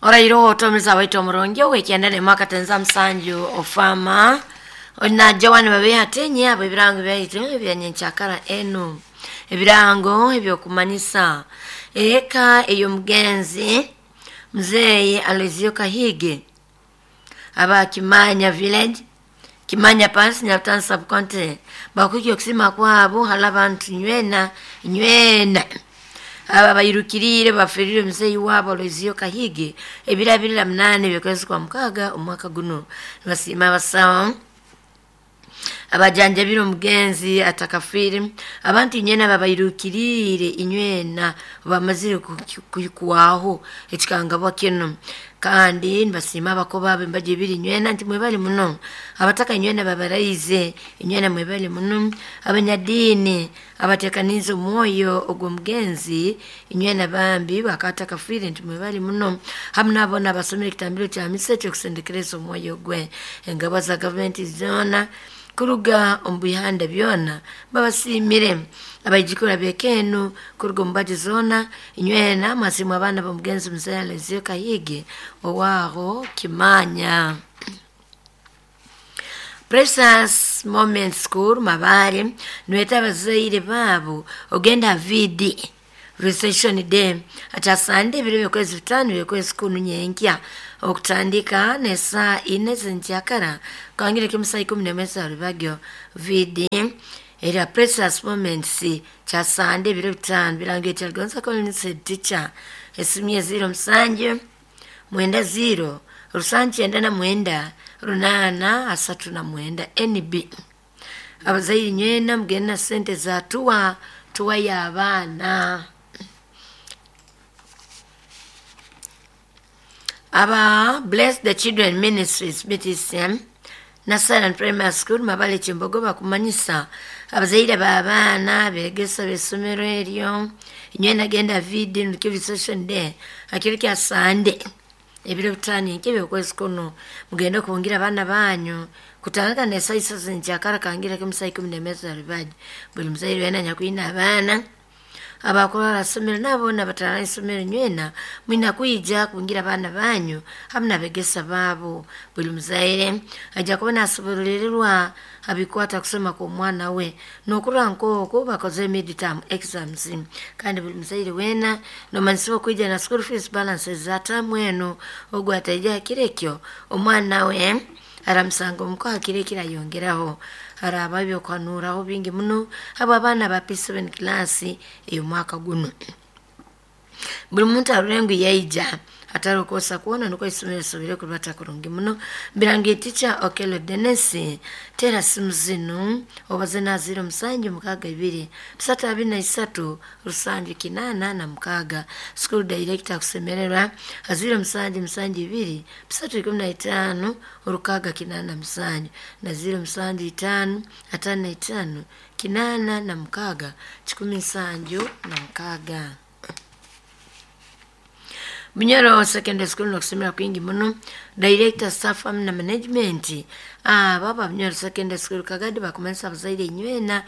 Orairo otomiza waitu omurungi ow'ekyenda n'emwaka tenza musanju ofama na Joan babe atenye abo ebirango byaitu ebyanyenkyakara enu ebirango ebyokumanyisa eka ey'omugenzi muzeeyi Aloysius Kahige aba Kimanya village, Kimanya parish, Nyarutarama sub county, bakuhikya okusima kwabo hali abantu nywena nywena aba bairukiriire baferire muzeeyi wabo Aloysius Kahige ebiro 28 by'okwezi kwa mukaaga omwaka guno. Nibasiima abasawo abajanjabire omugenzi atakafiire, abantu inywena ababairukiriire inywena bamazire kuhikwaho ekikangabwa kinu. Kandi nibasiima abakoba abo embaga ebiri inywena nti mwebale muno, abataka inywena babaraize inywena mwebale muno, abanyadiini abateekaniize omwoyo ogw'omugenzi inywena bambi bakaba atakafiire nti mwebale muno, hamu n'abo boona abasomere ekitambiro kya misa ekyokusendekereza omwoyo gwe. Engabwa za gavumenti zoona kuruga omu bihanda byona babasiimire. Abaijukuru ab'eka enu kuruga omu mbaju zoona inywena mwasiimwa abaana b'omugenzi muzeeyi Aloysius Kahige owaaho Kimanya. Precious Moment School Mabare nibeeta abazaire baabo ogenda aha VD Recession Day akyasande ebiro by'okwezi 5 by'okwezi kunu nyenkya okutandika n'esaaha ina z'enkyakara kangire kimu saa 11 za rubagyo. VD erya Precious Moments kyasande ebiro 5 birango ekyaligonza Collins head teacher esimu ye 07 90 799 839 NB. Abazaire nywena mugende na sente za tuwa tuwa y'abaana. Aba Bless the Children Ministries BTCM na Silent Primary School Mabale Kyembogo bakumanyisa abazaire b'abaana begesa b'essomero eryo inywena genda VD nukyo session day akiro kya Sande ebiro 5 nk'ebyo okwezi kuno mugende kubungira abaana banyu kutandika n'esaaha isatu z'enkyakara kangira kimu saa 11 za rubaji. Buli muzaire weena anyakwine abaana abakurwara isomero nabo boona batarara isomero nywena mwina kwija kubungira abaana banyu hamu n'abegesa baabo. Buli muzaire ajja kuba nasobororerwa abikwata kusoma kw'omwana we n'okurora nk'oku bakozere mid-term exams. Kandi buli muzaire weena nomanyisibwa okwija na school fees balances za taamu enu ogu ataija ha kiro ekyo omwana we aramusanga omuka ha kiro ekirayongeraho. Harabaho ebyokuhanuuraho bingi muno habw'abaana ba P7 class ey'omwaka guno. Buli muntu arore ngu yaija hatari kwosa kwona nukwo isomero lisobole kurubata kurungi muno. Birangi teacher Okello Dennis tera simu zinu obaze na 07 62 323 786. School director akusemererwa 07 72 315 687 na 07 5 55 86 176. Bunyoro Secondary School nokusemera kwingi muno director staff hamu na management aba ba Bunyoro Secondary School Kagadi bakumanyisa abazaire inywena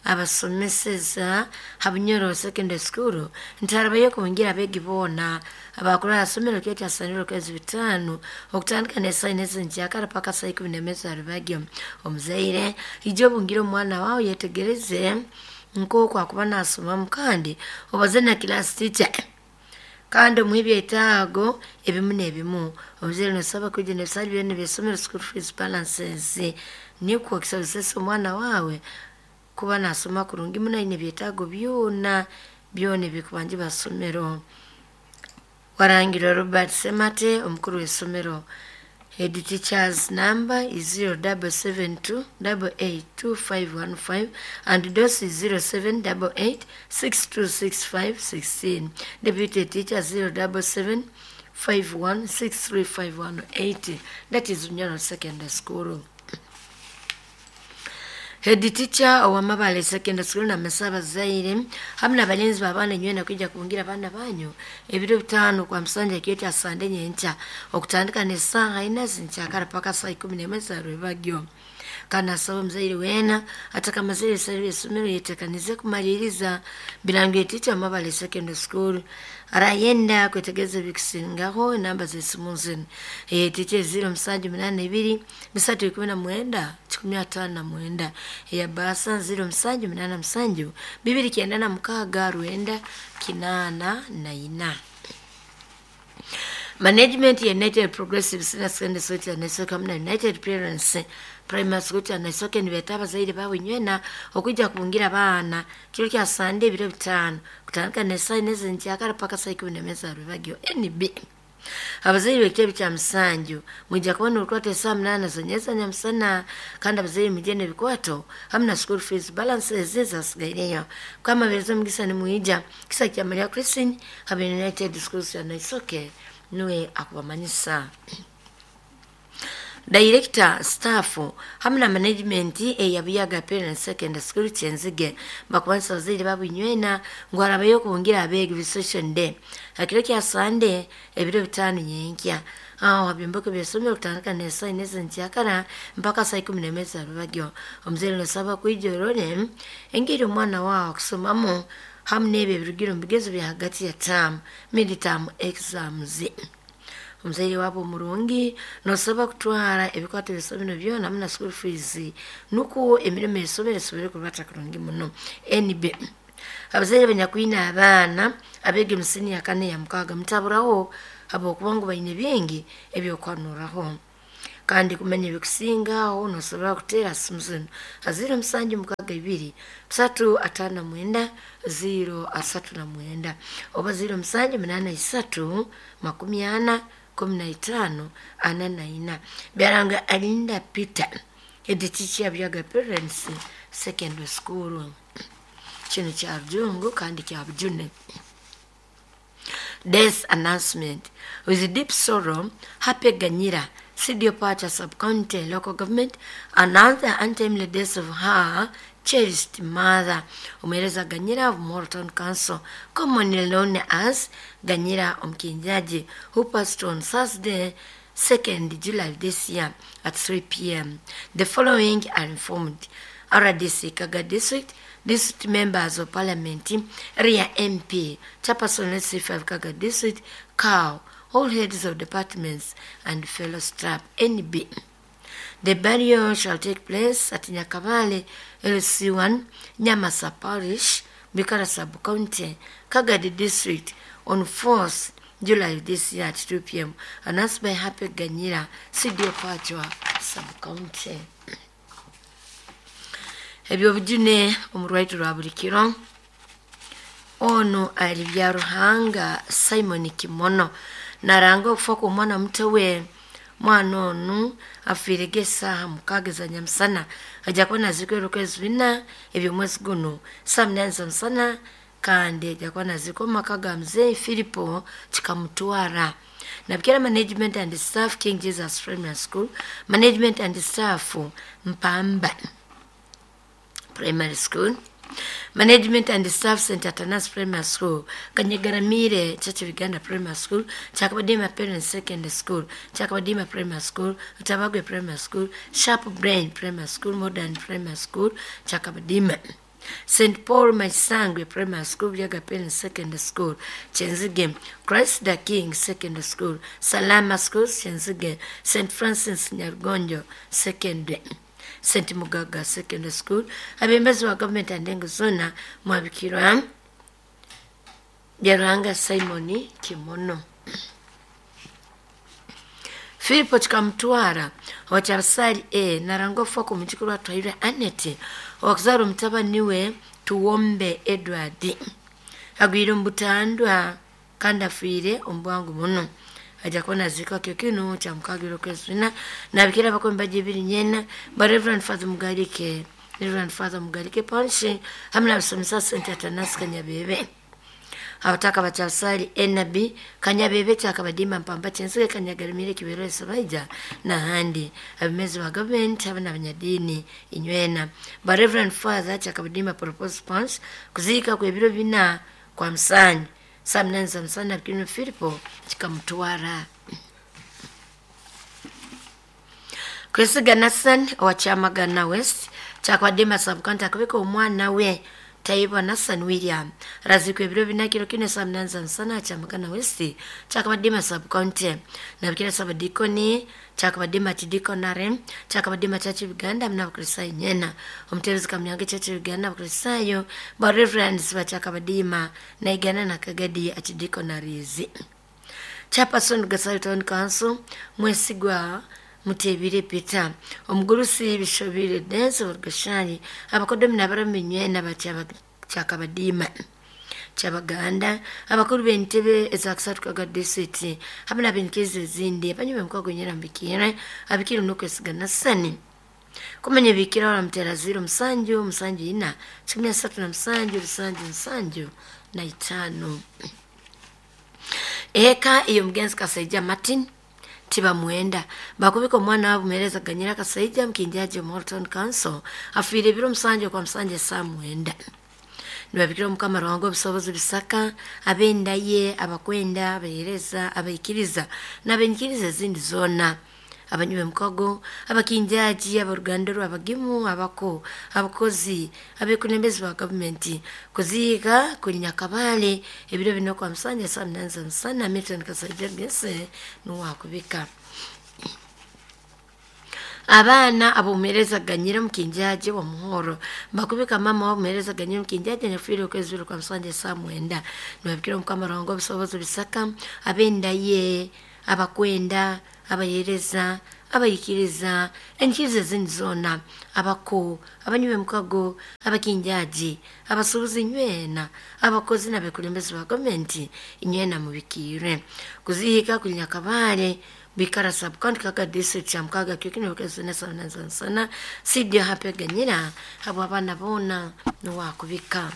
abasomeseza ha Bunyoro Secondary School nti harabayo kubungira abeegi boona abakurara somero kyo kyasanire okwezi 5 okutandika n'esaaha ina z'enkyakara paka saa 11 za rubagyo. Omuzaire ija obungire omwana wawe yetegereze nk'oku akuba nasomamu kandi obaze na class teacher kandi omuhe ebyetaago ebimu n'ebimu. Omuzaire nosaba kwija n'ebisale byona eby'essomero school fees balances nikwo kisobozesa omwana wawe kuba nasoma kurungi muno aine ebyetaago byona byona ebikubanjibwa ha somero. Warangirwa Robert Semate omukuru w'essomero. Head teacher's number is 0772 882515 and DOS is 0788 626516. Deputy teacher 077 5163518. That is Bunyoro Secondary School. Head teacher owa Mabale Secondary School namesa abazaire hamu n'abalinzi b'abaana inywena kwija kubungira abaana banyu ebiro 5 kwa musanja ekiro kya Sande nyenkya okutandika n'esaaha ina z'enkyakara paka saa 11 za rwebagyo. Kandi asaba omuzaire weena atakamazire ebisale by'essomero yetekanize kumaliriza birango teacher Mabale Secondary School. Arayenda kwetegereza ebikusingaho, enamba z'esimu zinu: teacher 0782 319 159, eya basa 0787 296 984. Management ya United Progressive Senior Secondary School Kyanaisooke hamu na United Parents Primary School Kyanaisooke nibeeta abazaire baabo inywena okwija kubungira abaana kiro kya Sande ebiro 5 kutandika n'esaaha 4 ez'enkyakara paka saa 11 za rwebagyo. NB, abazaire b'ekitebe kya musanju mwija kubona orukwata esaaha 8 zonyeza nyamusana. Kandi abazaire mujye n'ebikwato hamu na school fees balances ezasigaireyo. Kwamabereza omugisa nimwija kisa kya Maria Christine habe United Schools Kyanaisooke nuwe akubamanyisa. Director, staff hamu na management eya Buyaga Parents Secondary School Kyenzige bakubanisa abazaire babo inywena ngu harabayo okubungira abeegi Recession Day hakiro kya Sande ebiro 5 nyenkya aho habyombeko by'essomero kutandika n'esaaha 4 ez'enkyakara mpaka saa 11 za rwebagyo. Omuzaire nosaba kwija orole engeri omwana waawe akusomamu hamu n'ebyo ebirugire omu bigezo bya hagati ya term, mid-term exams. Omuzaire waabo omurungi nosaba kutwara ebikwato by'essomero byona hamu na school fees nukwo emirimo y'essomero esobole kurubata kurungi muno. NB, abazaire abanyakwine abaana abeega omu siniya kana eya mukaaga mutaburaho habwokuba ngu baine bingi ebyokuhanuraho. Kandi kumanya ebikusingaho nosobora kuteera simu zinu: 0762 359 039 oba 0783 40 15 44. Byaranga Alinda Peter, head teacher Buyaga Parents Secondary School. Kinu kya rujungu kandi kya bujune. Death announcement. With deep sorrow, Happy Ganyira, CDO Pacha Sub-County Local Government, announced the untimely death of her cherished mother, Umereza Ganyira of Moro Town Council, commonly known as Ganyira Omkinjaji, who passed on Thursday, 2nd July this year at 3 p.m. The following are informed: RDC Kaga District, District Members of Parliament, Area MP, Chairperson LC5 Kaga District, COW, all heads of departments and fellow staff. NB. The burial shall take place at Nyakabale LC1, Nyamasa Parish, Bikara Sub-County, Kagadi District on 4th July this year at 2 p.m. Announced by Happy Ganyira, CDO Pachwa Sub-County. Ebyobujune omu rwaitu rwa buli kiro. Ono ali bya Ruhanga Simon Kimono naranga okufa kw'omwana muto we. Mwana onu afiirege esaaha 6 za nyamusana, ajja kuba naziikwa ebiruka 4 eby'omwezi guno saa 8 za musana, kandi ajja kuba naziikwa omu maka ga muzeeyi Filipo Kikamutwara. Nabikira Management and Staff King Jesus Primary School, Management and Staff Mpamba Primary School, Management and Staff St. Atanas Primary School, Kanyegaramire Church of Uganda Primary School, Chakabadima Parents Secondary School, Chakabadima Primary School, Tabagwe Primary School, Sharp Brain Primary School, Modern Primary School, Chakabadima, St. Paul Maisangwe Primary School, Buyaga Parents Secondary School, Chenzige, Christ the King Secondary School, Salama Schools, Chenzige, St. Francis Nyargonjo Secondary, St. Mugaga Secondary School. Abembazi wa gavumenti andengo zona mwabikirwa Byaruhanga Simon Kimono. Filipo Kikamutwara owakyabasali A naranga okufa kw'omujukuru wa Twahirwe Annet owakuzara omutabani we Tuwombe Edward agwire omu butandwa kandi afiire omu bwangu muno. Ajja kuba naziikwa kyo kinu kya mukaaga okwezi 4. Nabikira abakombe ebiri nyena ba Reverend Father Mugarike, Reverend Father Mugarike Panshi hamwe n'abasomesa St. Atanas Kanyabebe, abataka bakyasali NB Kanyabebe Kyakabadima Mpamba Kyensige Kanyagarimire Kibero Esabaija n'ahandi, abemezi ba gavumenti hamwe n'abanyadiini inywena ba Reverend Father Kyakabadima Propose Pons kuziika kw'ebiro 4 kwa musanju saa 8 za musana bikino Filipo Kikamutwara. Kwesiga Nathan owa Kyamagana West kyakabadde sub-county akabika omwana we Taibwa Nathan William razikwa ebiro bina kiro kino saa munana za musana Kyamagana West kyakabadde sub-county nabikira sabadikoni kyakabadde makidikonare kyakabadde machachi Uganda muna Abakristayo nyena omutebezi Kamyange Church Uganda Abakristayo ba reverends bakyakabadima naigana na Kagadi achidikonarizi. Chairperson Gasari Town Council Mwesigwa Mutebire Peter omugurusi Bishobire Dance Orgashani abakodomi nabaramenywe n'abakyakabadima kyabaganda abakuru b'entebe ezakusatu kaga district hamwe n'abenkezi ezindi abanyuma emikwago nyerambikire abikire n'okwesiga Nasani kumenya bikira wala mutera 0 7 7 4 37 75. Eka iyo mugenzi Kasaija Martin tiba mwenda bakubika omwana wabo muhereza Ganyira Kasaija mkinjaji Morton Council afiire biro 7 kwa 7 saa 9. Nibabikira Omukama Ruhanga obusobozi bisaka abenda ye abakwenda abahereza abaikiriza n'abenyikiriza ezindi zoona abanyume mukago abakinjaji abaruganda rw'abagimu abako abakozi abekunembezi ba gavumenti kuziika kuli Nyakabale ebiro bino kwa 7 saa 8 za musana Milton Kasaija Gese nuwakubika. Abaana abomuhereza Ganyira mukinjaji wa Muhoro bakubika mama wamuhereza Ganyira mukinjaji nyafiire okwezi kwa 7 saa 9. Nibabikira Omukama Ruhanga obusobozi bisaka abenda ye abakwenda abahereza abayikiriza enkiriza ezindi zoona abako abanyume mukago abakinjaji abasuubuzi nywena abakozi n'abekulembezi ba gavumenti nywena mubikiire kuziika kuli Nyakabale bikara sub-county Kaga district ya Mukaga kyokino sana sidio hape Ganyira abo abaana boona nuwakubika.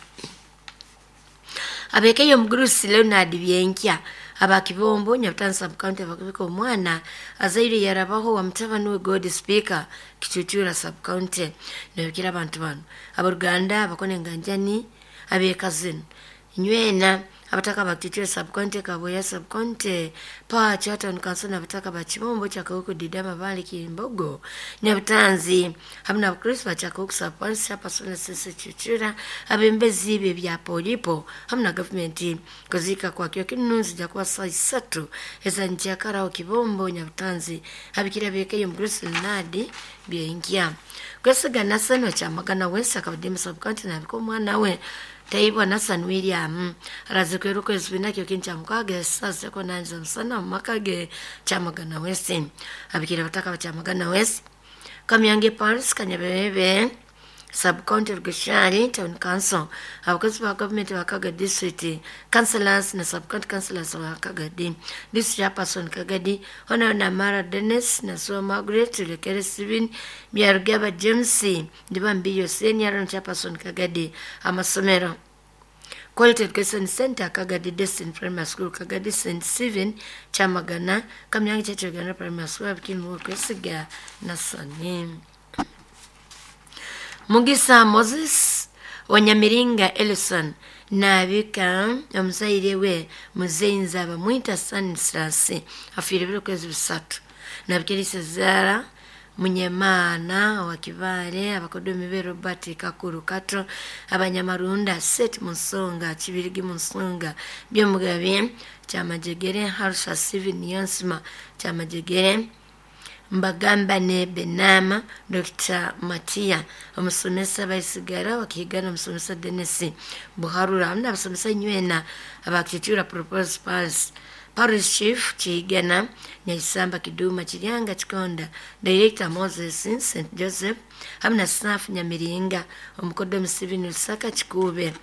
Abekeyo omugurusi Leonard Byenkya abakibombo Nyabutanzi sub-county abakubika omwana azaire yarabaho wa mutabani we God Speaker Kitutura sub-county. Nabikira abantu bano abaruganda abakone nganjani abekazini nywena abataka bakitutura sub-county Kaboya sub-county pa Chatton Council n'abataka bakibombo kyakawuku Didama Bali Kimbogo Nyabutanzi hamwe n'abakristo bakyakawuku sub-county Chairperson Sisi Chichura abembezi be bya polipo hamwe na gavumenti kuzika kwa kyo kinunzi jakuwa saa 3 ezanjakara Kibombo Nyabutanzi abikira bekeyo Mukristo Nadi Byenkia kwesiga Nasano Kyamagana West akabadde sub-county nabiko omwana we Taibwa Nathan William razikweru kwezi binakyo kincha mukaga sasa ko nanza musana makage Kyamagana West abikira bataka ba Kyamagana West Kamyange Paris Kanyabebe sub-county Rugashari Town Council abakozi ba government ba Kaga district councillors na sub-county councillors ba Kagadi district chairperson Kagadi Honorable Mara Dennis na so Margaret Lekere Steven Byarugaba James Ndibambiyo senior chairperson Kagadi amasomero Quality Education Center Kagadi Destin Primary School Kagadi St. Stephen Kyamagana Kamyange Church Uganda Primary School abikimu kwesiga Nasani. Mugisa Moses Wanyamiringa Ellison nabika omuzaire we Muzeinza bamwita Stanislas afiire biro kwezi 3. Nabikirisa Zara Munyemana wa Kibale abakodomi be Robert Kakuru Kato abanyamarunda Set Munsonga Kibirigi Munsonga Byomugabe Kyamajegere Harsha Steven Yonsima Kyamajegere Mbagamba ne Benama Dr. Matia omusomesa baisigara wakigana omusomesa Dennis Buharura hamwe n'abasomesa nywena abakitura propose pass Parish Chief Chigana Nyaisamba Kiduma Chiryanga Chikonda Director Moses St. Joseph hamwe na staff Nyamiringa omukodo Museveni Lusaka Chikube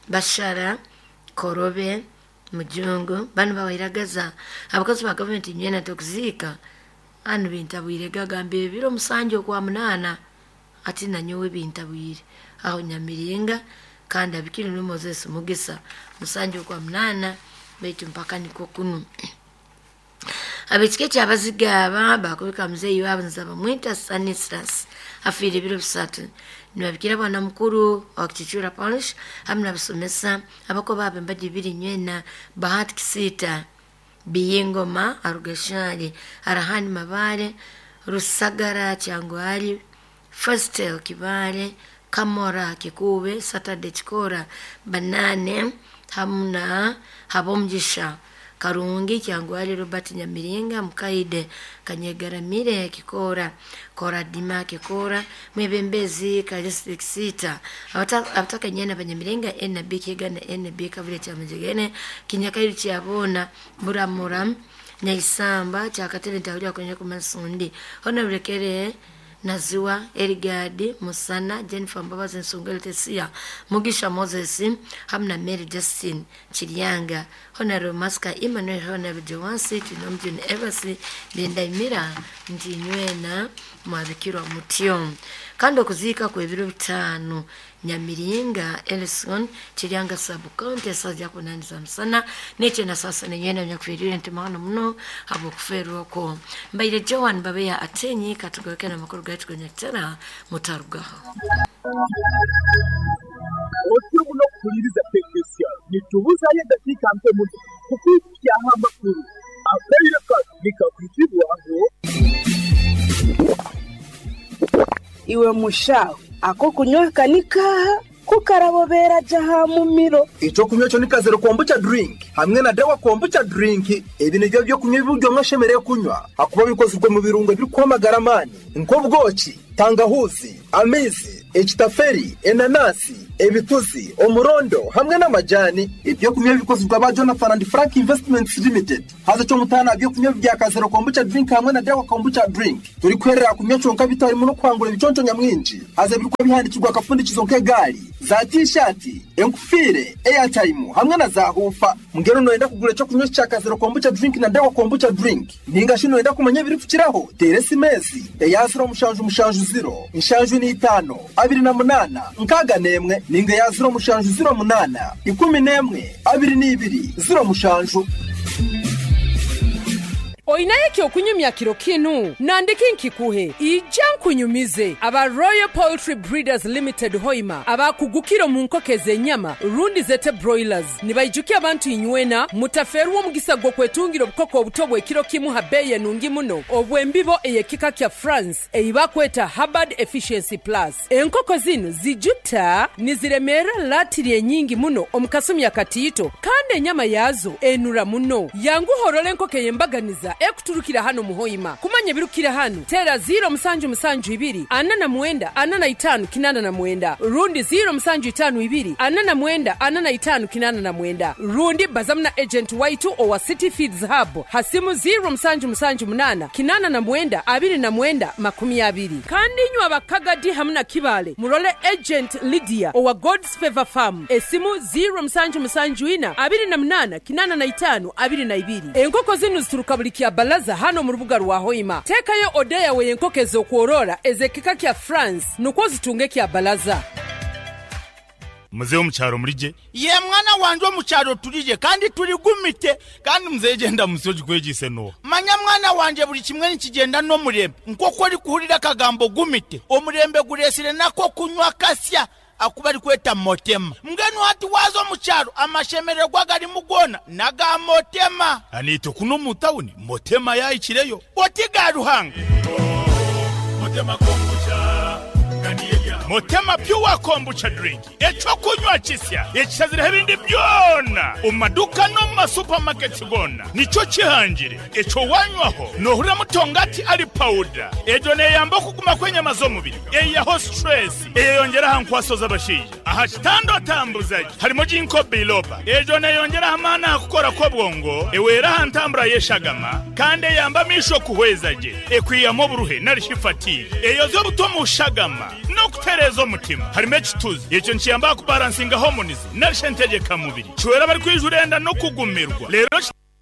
Bashara Korobe Mujungu bano bawairagaza abakozi ba gavumenti nywena tokuziika anu bintabwire gagamba ebiro 7 kwa 8 ati nanyowe bintabwire aho Nyamiringa kandi abikiri ni Moses Mugisa 7 kwa 8 baitu mpaka niko kunu abekike kyabazigaba bakubika muzeeyi wabo nzaba mwita Stanislas afiire ebiro 3. Nibabikira bwana mukuru wa Kichura Parish hamwe n'abasomesa abako babe mbadi biri nywena Bahati Kisita Biyingoma Arugashari, Arahani Mabare, Rusagara Kyangwali, Festel Kibale, Kamora Kikube, Saturday Chikora, Banane hamu na Habomugisha Karungi Kyangwali, Robert Nyamiringa, Mukaide Kanyegaramire Kikora, Koradima Kikora, Mwebembezi Kalistic Sita, abatakanyana Banyamiringa NB Kigana NB Kavule Kyamujegene, Kinyakairu Kyabona, Muramura Nyaisamba Kyakatebe Ntahulya kwenye kumasundi Honorable Naziwa Erigadi Musana Jennifer Mbabazi Nsungeli Tesia Mugisha Moses hamu na Mary Justin Chiryanga Honorable Maska Emmanuel Honorable Joansi Tunomjuni Evasi Bendamira nti nywena mwabikirwa mutyo. Kandi okuziika kw'ebiro 5 Nyamiringa Ellison Chiryanga sub county saja kunaniza musana neche na sasa nenywena nyakuferire nti mahano muno habwokuferwako. Mbaire Joan Babeya Atenyi katugaweke na makuru gaitu kwenye tera mutarugaho. Otyo muno kuhuliriza Tekesiya nitubuzayo eddakiika nto muno kukwikyaho amakuru akaire kano nikakwitibwaho. Iwe mushaho ako kunywa kanikaha kukarabobera jaha mumiro. Ekyokunywa kyo ni kazero kombucha drink hamwe na dawa kombucha drink. Ebi nibyo byokunywa ebiryo mwashemereire kunywa akuba bikozirwe mu birungo ebirikwamagara amaani nk'obwoki, tangahuzi, amaizi, ekitaferi, enanasi, ebituzi, omurondo hamwe n'amajani. Ebyokunywa bikozirwe aba Jonathan and Frank Investments Limited. Haza kyomutaana byokunywa bya kazero kombucha drink hamwe na dawa kombucha drink. Turikwerera kunywa kyonka bitarimu n'okwangura ebiconco nyamwingi. Haza birikuba bihandikirwa akafundikizo nk'egaari, za t-shirt, enkufiire, airtime hamwe na za hufa. Mbwenu noyenda kugura ekyokunywa kya kazero kombucha drink na dawa kombucha drink. Ninga shi noyenda kumanya ebirikukiraho, teera esimesi eya 0770 75 28 61 ninga ya 0708 11 22 07. Oinaye kyokunyumya kiro kinu nandiki nkikuhe ija nkunyumize aba Royal Poultry Breeders Limited Hoima abakugukiro mu nkoko ez'ennyama rundi zete broilers nibaijukia abantu inywena mutaferwa omugisa gw'okwetungira obukoko obuto bw'ekiro kimu ha beeyi enungi muno obw'embibo ey'ekika kya France eibakweta Hubbard Efficiency Plus. Enkoko zinu zijuta niziremera latiri enyingi muno omu kasumi akatiito kandi enyama yazo enura muno. Yanguhorora enkoko ey'embaganiza ekuturukira hano muhoima. Kumanya birukira hano tera 0772 49 45 89 rundi 0752 49 45 89 rundi bazamna agent waitu owa City Feeds Hub hasimu 0778 89 29 20. Kandi nywa abakagadi hamna kibale murole agent Lydia owa God's Favor Farm esimu 0774 28 85 22. Enkoko zinu zituruka buli kya balaza hano mu rubuga rwa Hoima. Tekayo odeya we enkoko ez'okworora ez'ekika kya France nukwo zitunge kya balaza. Muzehe omukyaro murije? Ye mwana wanje omukyaro turije kandi turigumite kandi muzehe genda musoji kwegise no. Manya mwana wanje buli kimwe nikigenda n'omurembe nk'oku ori kuhurira akagambo gumite omurembe guresire nako kunywa kasya akuba ari kweta motema. Mbwenu hati waza omukyaro amashemererwa garimu gona naga motema. Anito kuno mu tawuni motema yayikireyo. Oti ga Ruhanga. Motema kombucha. Motema pure kombucha drink ekyokunywa kisya ekisazire ebindi byona omu maduka no mu supermarkets gona nikyo kihangire ekyo wanywaho nohurira mutongati ari powder ejo neyamba okuguma kw'enyama z'omubiri eyaho stress eyeyongera aha nkwaso z'abashaija aha kitando atambuzaji harimo ginkgo biloba ejo neyongera amaani aha kukora kw'obwongo ewera aha ntambura y'eshagama kandi eyamba amisho kuhweza gye ekwiyamu oburuhe narishi fatigue eyoza obuto mu shagama n'okutereeza omutima harimo ekituzi ekyo nikiyamba kubalansinga hormones narishe ntegeka mubiri kiwera bari kwijurenda n'okugumirwa rero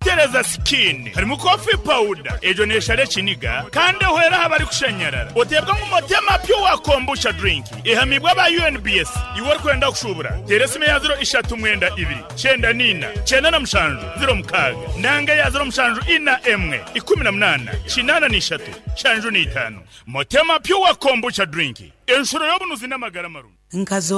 tereza skin harimo coffee powder ejo neshare kiniga kandi ehwera aha bari kushanyarara otebwa ngu motema pure kombucha drink ihamibwa ba UNBS iwe ori kwenda kushubura tera esimu ya 039 2 94 97 06 nanga ya 0741 18 83 75 motema pure kombucha drink enshuro y'obunuzi n'amagara marungi. Nkazo.